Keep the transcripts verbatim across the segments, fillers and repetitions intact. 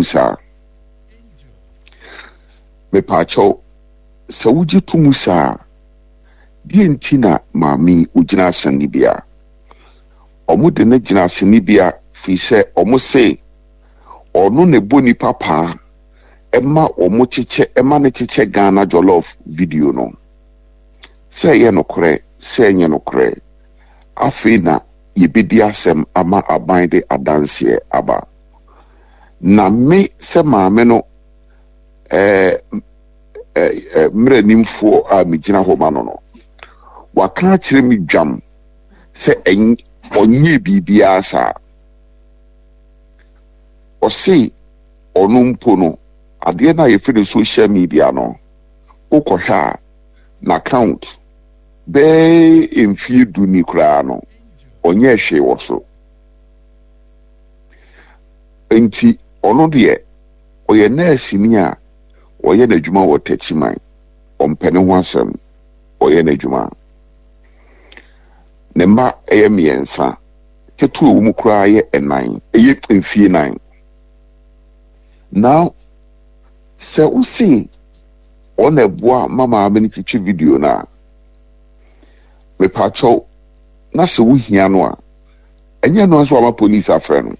Saa? Mepaakyɛw, sɛ wogye to mu saa a, deɛ nti na maame yi ogyina asɛnnibea? Wɔde no gyina asɛnnibea firi sɛ wɔse ɔno na ɛbɔ nipa paa ɛma wɔn kyekyɛ ɛma no kyekyɛ Ghana Jollof video no. Sɛ ɛyɛ nokorɛ sɛ ɛnyɛ nokorɛ, afei na yɛbɛdi asɛm ama aban de adanseɛ aba. Na me sɛ maame no ɛɛ ɛɛ mmeranimfoɔ a megyina hɔ ma no no, waka akyerɛ me dwam sɛ ɔnyɛ biribiara saa. Ɔse ɔno mpo no, adeɛ no a yɛfrɛ no social media no, wokɔhwɛ a n'account bɛɛ mfie du ni koraa no, ɔnyɛ hwee wɔ so. Nti ɔno deɛ, ɔyɛ nɛɛseni a ɔyɛ n'adwuma wɔ Takyiman. Ɔmpɛ ne ho asɛm, ɔyɛ n'adwuma. Ne mma ɛyɛ mmiɛnsa, ketewa wɔ mu koraa yɛ ɛnan, ɛyɛ mfie nan. Now, sɛ wosi ɔna ɛboa ma maame no twitwi video no a, mepaakyɛw, na sɛ wohia no a, ɛnyɛ no nso ama police afrɛ no.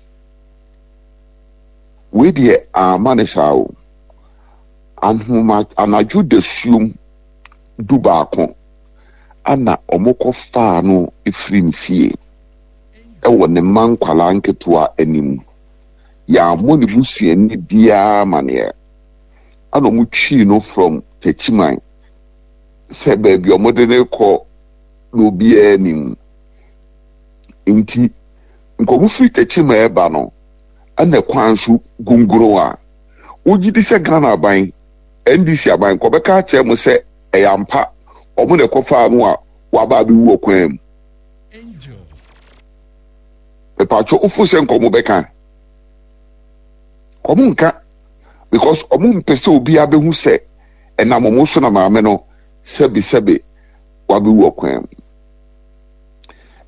Wei deɛ ama ne saa o. Ahoma anadwo dasuom du baako ana ɔmo kɔfaa no efiri ne fie ɛwɔ ne mma nkwalaa nketewa anim. Yɛammɔ ne busuani biara amaneɛ. Ana ɔmo twii no from Takyiman sɛ baabi a ɔmo de ne kɔ na obiara anim. Nti nkɔmɔ firi Takyiman ɛba no, ɛna kwan so gongoro a wogye di sɛ Ghana aban, N D C aban kɔbɛka akyerɛ mo sɛ ɛyɛ ampa ɔmo na ɛkɔfaa no a waba abɛwu wɔ kwan mu. Mepatwo, wofo sɛ nkɔmɔ bɛka? Ɔmo nka, because ɔmo mpɛ sɛ obiara bɛhu sɛ ɛnam ɔmo so na maame no sɛbesɛbe wabɛwu wɔ kwan mu.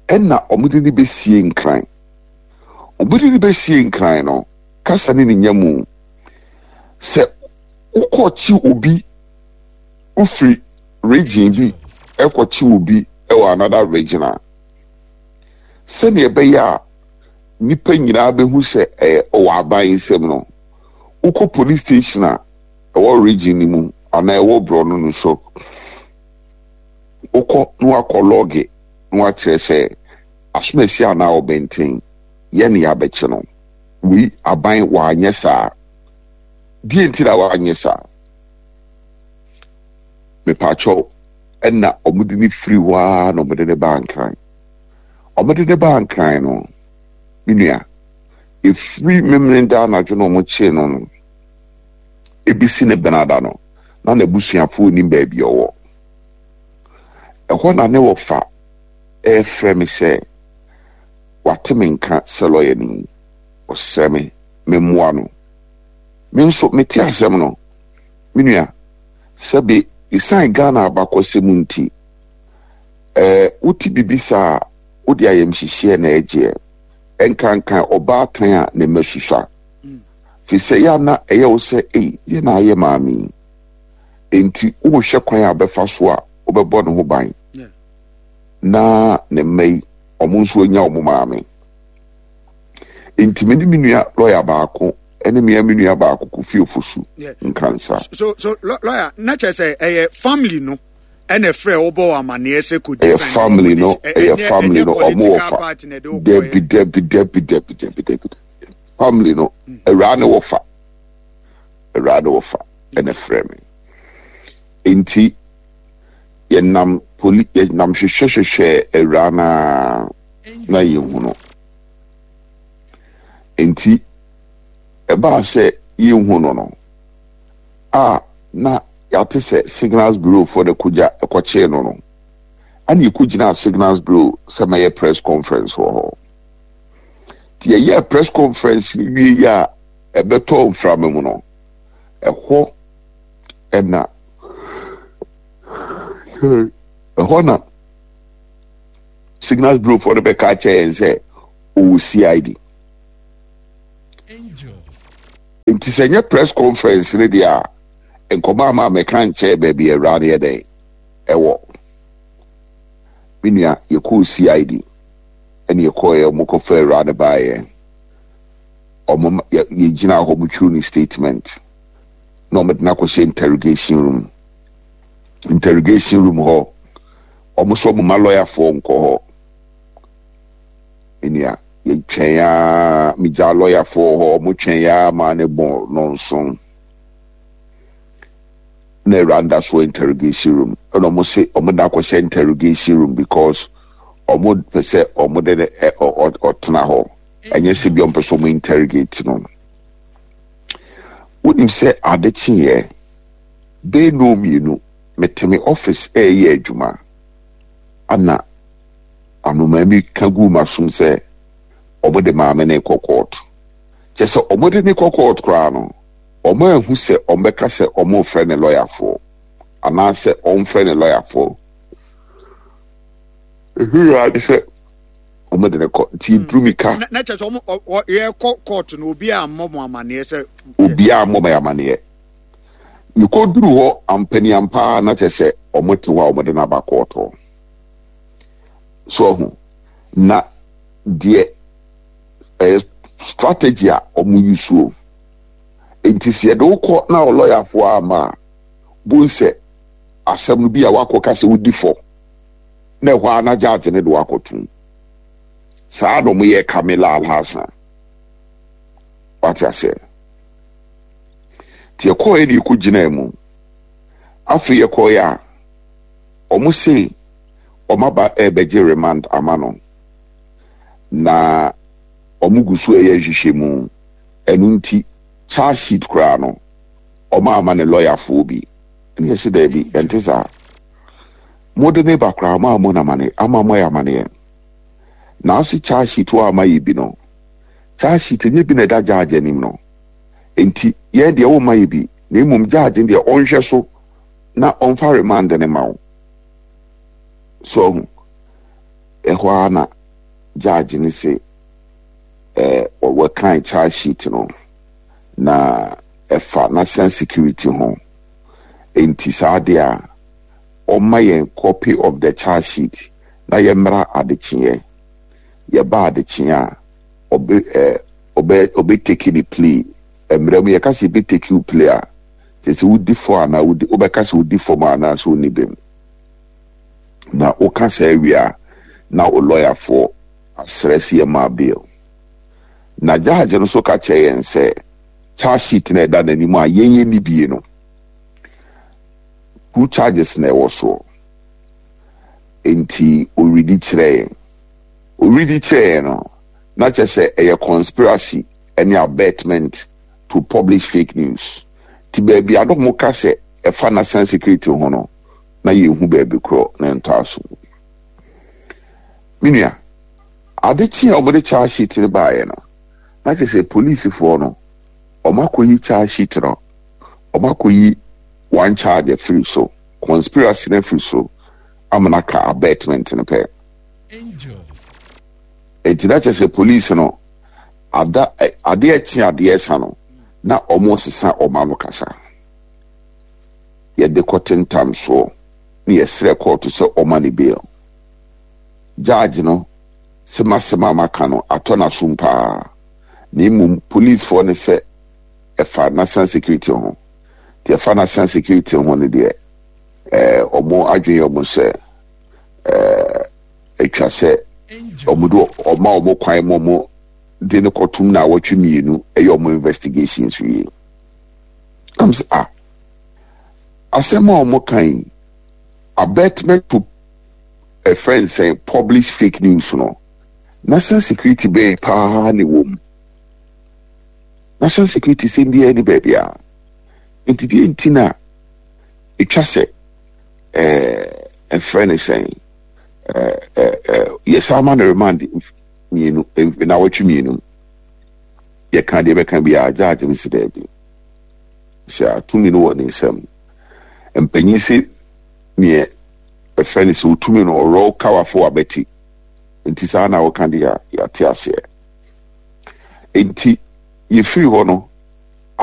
Ɛna ɔmo de ne bɛsie Nkran. Ɔmo de ne bɛsie Nkran no, kasa ne ne nya mu sɛ wokɔkye obi wofiri region bi ɛkɔkye obi ɛwɔ another region a, sɛnea ɛbɛyɛ a nipa nyinaa bɛhu sɛ ɛyɛ ɔwɔ aban nsam no, wokɔ police station a ɛwɔ region no mu anaa ɛwɔ borɔno no so, wokɔ na wakɔ lodge na wakyerɛ sɛ asomasi anaa ɔbɛnten yɛ ne yɛabɛkye no. Wei aban wanyɛ saa. Deɛ nti na wanyɛ saa? Mepaakyɛw, ɛna ɔmode ne firi hɔ ara na ɔmode ne baa Nkran. Ɔmode ne baa Nkran no, me nua, efiri Memeneda anadwo na ɔmo kyee no no ebisi ne Benada no, na n'abusuafoɔ nim baabi ɔwɔ. Ɛhɔ na ne wɔfa ɛɛfrɛ me sɛ wate me nka sɛ lɔya ni, ɔsrɛ me memmoa no. Me nso mete asɛm no, me nua, sɛbe ɛsiane Ghana abakɔsɛm nti, ɛɛ wote bibi saa, wode ayamhyehyeɛ na ɛgyeɛ ɛnkankan ɔbaatan a ne mma susua fi sɛ yɛ ana ɛyɛ wo sɛ ei, yɛ na ayɛ maame yi, enti wohwɛ kwan a bɛfa so a wobɛbɔ ne ho ban na ne mma yi ɔmo nso anya ɔmo maame. Nti me ne me nua lɔya baako ɛne mmea me nua baako Kofi Ofosu Nkansa. so so lɔya, na kyerɛ sɛ ɛyɛ family no ɛna ɛfrɛ wobɔ wɔ amanneɛ sɛ kò Ɛyɛ family no, ɛyɛ family no, ɔmo wɔ fa. Dabi, dabi, dabi, dabi, dabi, dabi, family no, awuraa ne wɔ fa, awuraa ne wɔ fa ɛna ɛfrɛ me. Nti yɛnam poli, yɛnam hwehwɛ hwehwɛ awuraa naa na yɛnhu no. Nti ɛbaa sɛ yɛnhu no no a, na yɛate sɛ Signals Bureau foɔ de kogya ɛkɔkyee no no ɛna yɛkɔgyina Signals Bureau sɛ mɛyɛ press conference wɔ hɔ. Nti yɛyɛ press conference no wie yi a, ɛbɛtɔ mframa mu no, ɛhɔ ɛna ɛhɔ na Signals Bureau foɔ no bɛka kyerɛ yɛn sɛ ɔwɔ C I D. Nti sɛ nyɛ press conference ne deɛ a, nkɔmɔ ama mɛka nkyɛn baabi awura no yɛ dɛn ɛwɔ. Me nua, yɛkɔɔ C I D ɛne yɛkɔɔ, ɔmo kɔfa awura no baeɛ. Ɔmo yɛgyina hɔ, ɔmo twerɛ ne statement na ɔmo de no akɔhyɛ interrogation room. Interrogation room hɔ, ɔmo sɛ ɔmo ma lɔyafoɔ nkɔ hɔ. Me nua, yɛtwɛn aa, megya lɔyafoɔ hɔ, ɔmo twɛn aa maa ne bɔ nɔnson na awura da so interrogation room, ɛna ɔmo se ɔmo de akɔhyɛ interrogation room because ɔmo pɛ sɛ ɔmo de ne ɛ ɔ ɔtena hɔ, ɛnyɛ sɛ bi ɔmo pɛ sɛ ɔmo interrogate no. Wonim sɛ ade kyeeɛ bɛɛ no mmienu, mete me office ɛɛyɛ adwuma, ana anomaa bi ka gu m'asom sɛ ɔmo de maame ne kɔ court. Kyɛ sɛ ɔmo de ne kɔ court koraa no, ɔmo ahu sɛ ɔmo bɛka sɛ ɔmo frɛ ne lɔyafoɔ anaasɛ ɔmfrɛ ne lɔyafoɔ. Ehu ade sɛ ɔmo de ne kɔ, nti eduru mi ka. Na na kyerɛ sɛ ɔmo ɔ- ɔ- yɛkɔ court no, obi a mmɔ mo amanneɛ sɛ Obiara mmɔ me amanneɛ. Mekɔduru hɔ ampaniampa na kyerɛ sɛ ɔmo te hɔ a ɔmo de no aba court hɔ so ɔho na deɛ ɛyɛ strategy a ɔmo use o. Nti sɛ yɛde wokɔ na ɔlɔyafoɔ ama a bon sɛ asɛm no bi a wakɔ ka sɛ wodi fɔ na ɛhɔ a na judge ne de wakɔtom. Saa na ɔmo yɛ Camila Alhassan, wate aseɛ? Nti yɛkɔɔ ne yɛkɔ gyinaa mu. Afei yɛkɔɔ a, ɔmo se ɔmo aba ɛrebɛgye remand ama no na ɔmo gu so ɛyɛ nhwehwɛmu. Ɛno nti charge sheet koraa no, ɔmo ama ne lɔyafoɔ bi. Ɛne yɛsɛ daabi, ɛnte saa. Mode ne ba koraa, ɔmo ama no amane ama mo ayɛ amaneɛ nanso charge sheet wɔ ama yɛ bi no, charge sheet nye bi na ɛda judge anim no. Nti yɛn deɛ, wɔma yɛ bi na mmom judge deɛ, ɔnhwɛ so na ɔmfa remand ne ma wo so. Ɔho ɛhɔ ara na judge ne se ɛɛ wɔkan charge sheet no na ɛfa national security ho, nti saa deɛ a, ɔma yɛn copy of the charge sheet na yɛmmra adekyeɛ. Yɛba adekyeɛ a, ɔbɛ ɛɛ ɔbɛ ɔbɛ take ne plea. Mmerɛ mu yɛka sɛ yɛbɛ take wo plea a, kyerɛ sɛ wodi fɔ anaa wodi, wobɛka sɛ wodi fam anaa sɛ wonni bem. Na woka saa awie a, na wo lɔyafoɔ asrɛ sɛ yɛma bail. Na judge no nso ka kyerɛ yɛn sɛ charge sheet na ɛda n'anim a yɛn yɛ ni bie no, two charges na ɛwɔ soɔ. Nti oridi kyerɛ yɛn oridi kyerɛ yɛn no, na kyerɛ sɛ ɛyɛ conspiracy ɛne abetment to publish fake news. Ti baabi a mo ka sɛ ɛfa national security ho no, na yɛnhu baabi korɔ na ɛntɔ aso. Me nua, ade kye a wɔde charge sheet no baeɛ no, na kyerɛ sɛ polisifoɔ no, wɔn akɔyi charge sheet no, wɔn akɔyi one charge afiri so, conspiracy no afiri so, amana ka abetment no pɛ. Eti na kyerɛ sɛ police no ada adeɛ kye adeɛ sa no, na wɔn sesa wɔn ano kasa. Yɛde kɔ tentam soɔ na yɛsrɛ court sɛ ɔma ne bail. Judge no sɛ masɛm a maka no atɔ n'asom paa, na mmom policefoɔ no sɛ ɛfa national security ho. Nti ɛfa national security ho no deɛ, ɛɛ ɔmo adwene yɛ ɔmo sɛ ɛɛ atwa sɛ ɔmo de ɔma ɔmo kwan ma ɔmo de ne kɔtum na awɔtwe mmienu ɛyɛ ɔmo investigations wie. Am sɛ ah, asɛm a ɔmo kan yi, abetment to ɛfrɛ nsɛn publish fake news no, national security bɛn paa ne wɔ mu? National security sɛm biara ni baabi a. Nti deɛ nti na etwa sɛ ɛɛ ɛfrɛ ne sɛn, ɛɛ ɛɛ yɛsan ama no remand mmienu na awɔtwe mmienu. Yɛka deɛ bɛka biara, judge no si daabi, sɛ atumi no wɔ ne nsam. Mpanyin sɛ neɛ ɛfrɛ no sɛ otumi no ɔrɔ kawafo abɛti. Nti saa na wɔka deɛ a, yɛate aseɛ. Nti yɛfiri hɔ no